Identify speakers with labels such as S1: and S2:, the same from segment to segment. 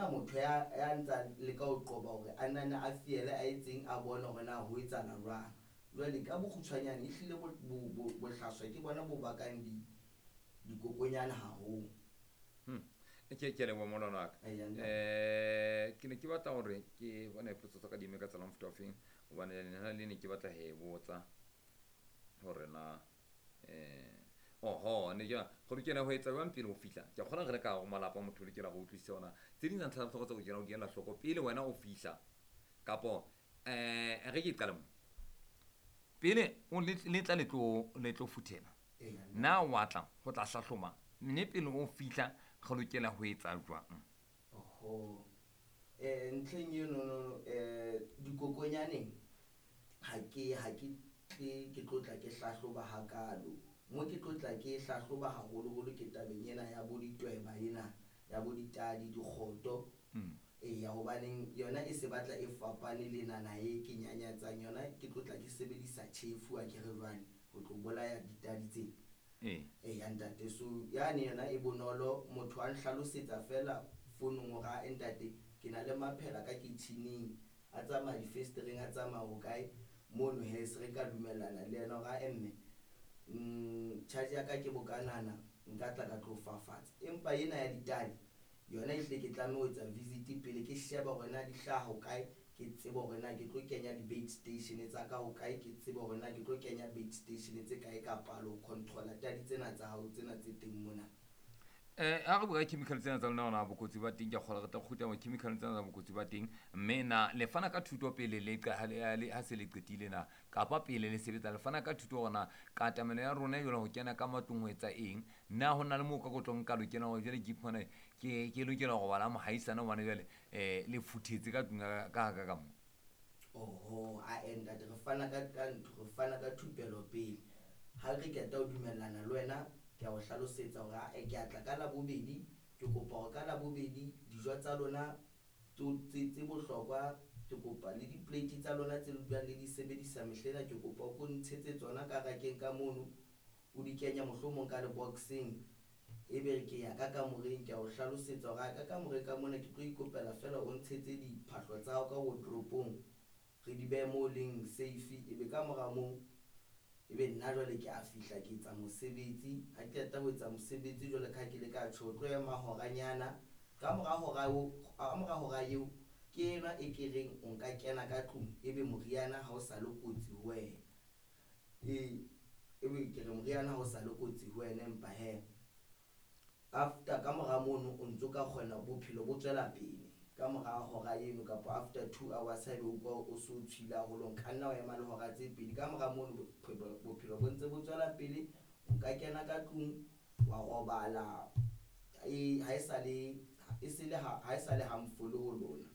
S1: hona motho ya ntsa leka ho qoba hore a nane a fiele a etseng a bone hore na ho etsahala jwang. Jwale ka bokgutshwanyane ehlile bohlaswa ke bona bo bakang dikokonyana haholo.
S2: Ke leboha molwana wa ka.
S1: Eya, ntate.
S2: Ke ne ke batla hore ke bone potso tsa ka di eme ka tsela ya mofuta o feng, hobane lena le ne ke batla ho e botsa hore na oho ne ke go lokela ho etsa jwang pele o fihla. Ke a kgona re le ka hare ho malapa, motho o lokela ho utlwisisa hore na tse ding tsa ntlha tsa bohlokwa tse o lokelang ho di ela hloko pele wena o fihla, kapo re ke qale mo pele o le tla le tlo futhela.
S1: Eya, ntate.
S2: Na wa tla ho tla hlahloma mme pele o fihla re lokela ho etsa jwang?
S1: Oho. Ntlheng eno no, dikokonyaneng ha ke tle ke tlo tla ke hlahloba hakalo. Mo ke tlo tla ke hlahloba haholoholo ke tabeng ena ya bo ditweba ena, ya bo ditadi, dikgoto. Eya, hobaneng yona e se batla e fapane le nana e ke nyanyatsang yona, ke tlo tla ke sebedisa tjhefu ha ke re jwale ho tlo bolaya ditadi tsena. Eya ntate, so yane yona e bonolo, motho a nhlalosetsa fela founung hore ha ntate ke na le maphela ka kitchening, a tsamaya difestereng, a tsamaya ho kae mono he, se re ka dumellana le yena hore ha mme, charge ya ka ke bokanana, nka tla ka tlo fafatsa. Empa ena ya ditadi yona ehlile ke tlameha ho etsa visit pele ke sheba hore na di hlaha ho kae, ke tsebe hore na ke tlo kenya di-bait station tsa ka ho kae, ke tsebe hore na ke tlo kenya bait station tse kae ka palo ho controla tadi tsena tsa hao tsena tse teng mona.
S2: Ha re bua ka chemical tsena tsa lona, hona bokotsi ba teng, ke a kgolwa re tla kgutla mo chemical tsena tsa bokotsi ba teng. Mme na le fana ka thuto pele le qa-, ha le, ha le, ha se le qetile na, kapa pele le sebetsa le fana ka thuto hore na katamelo ya rona jwale ho kena ka matlong ho etsa eng? Na ho na le moo ka ko tlo nka lokela hore jwale ke iphumane ke lokela ho robala mohaisane hobane jwale, le futhetse ka tlung ka haka ka mo?
S1: Oho, a ntate, re fana ka, ka ntho, re fana ka thupelo pele. Ha re qeta ho dumellana le wena, ke a o hlalosetsa hore ha ke a tla ka Labobedi, ke kopa hore ka Labobedi dijo tsa lona tse bohlokwa, ke kopa le di-plate tsa lona tse le dulang le di sebedisa mehlena, ke kopa o ko ntshetse tsona ka rakeng ka mono, o di kenya mohlomong ka leboxeng. Ebe ke ya ka kamoreng, ke a o hlalosetsa hore ka kamoreng ka mona ke tlo ikopela fela o ntshetse diphahlo tsa hao ka wardrobe-ong, re di behe moo leng safe. Ebe ka mora moo, ebe nna jwale ke a fihla ke etsa mosebetsi. Ha ke qeta ho etsa mosebetsi jwale ka ha ke le ka tjho, o tlo ema horanyana. Ka mora hora eo, ka mora hora eo, ke enwa e ke reng o nka kena ka tlung, ebe moriana ha o sa le kotsi ho wena. Ebe ke re moriana ha o sa le kotsi ho wena, empa he after ka mora mono o ntso ka kgona bophelo bo tswela pele. Ka mora hora eno kapa after 2 hours haebe o utlwa o so tshwile haholo, nka nna wa ema le hora tse pedi. Ka mora mono bophelo bo ntse bo tswela pele, o ka kena ka tlung wa robala. Ha e sa le, e se le ha, ha e sa le harmful ho lona.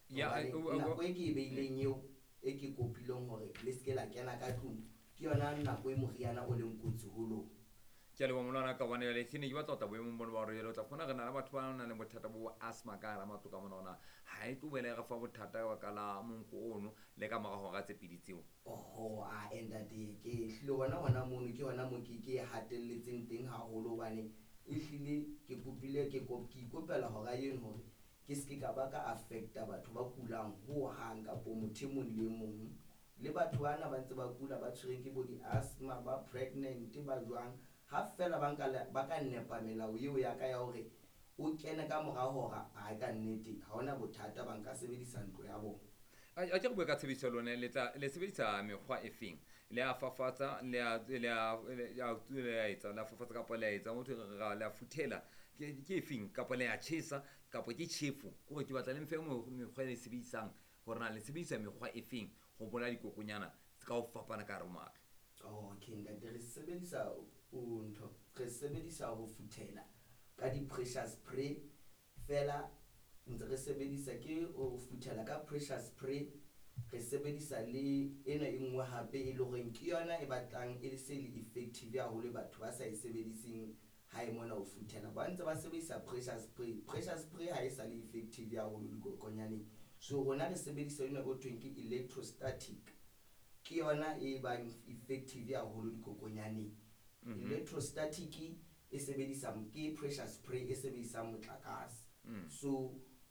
S2: Ya,
S1: Hobane nako e ke e beileng eo, e ke kopileng hore le se ke la kena ka tlung, ke yona nako e moriana o leng kotsi ho lona.
S2: Ke a leboha molwana ka hobane jwale ke ne ke batla ho tla boemong bona ba hore jwale o tla fumana re na le batho ba nang le bothata bo asthma ka hara matlo ka mona, hona ha e tlo boela e re fa bothata ka baka la monko ono le ka mora hora tse pedi tseo.
S1: Oho, a ntate, ke hlile hona hona mono ke hona mo ke hatelletseng teng haholo, hobane ehlile ke kopile, ke ke ikopela hora eno hore ke se ke ka ba ka affecta batho ba kulang hohang kapo motho e mong le e mong. Le batho bana ba ntse ba kula ba tshwereng ke bo di-asthma, ba pregnant, ba jwang, ha fela ba nka le, ba ka nepa melao eo ya ka ya hore o kene ka mora hora, ha ka nnete ha hona bothata, ba nka sebedisa ntlo ya bona.
S2: A ke re bue ka tshebediso ya lona, le tla, le sebedisa mekgwa e feng? Le a fafatsa, le a, le a, le a, le a etsa, le a fafatsa kapa le a etsa, motho re ra, le a futhela. Ke e feng? Kapa le a tjhesa, kapa ke tjhefo? Ke hore ke batla le mfe mekgwa e le sebedisang, hore na le sebedisa mekgwa e feng ho bolaya dikokonyana tse ka ho fapana ka hare ho matlo.
S1: Oh, okay, ntate, re sebedisa o ntho, re sebedisa ho futhela ka di-pressure spray fela, ntse re sebedisa ke ho futhela ka pressure spray, re sebedisa le ena e nngwe hape e le horeng ke yona e batlang e se le effective haholo, batho ba sa e sebediseng hae mona ho futhela, ba ntse ba sebedisa pressure spray. Pressure spray ha e sa le effective haholo dikokonyaneng, so rona re sebedisa yona ho thweng ke electrostatic, ke yona e bang effective haholo dikokonyaneng. Electrostatic e sebedisa ke pressure spray e sebedisang motlakase. So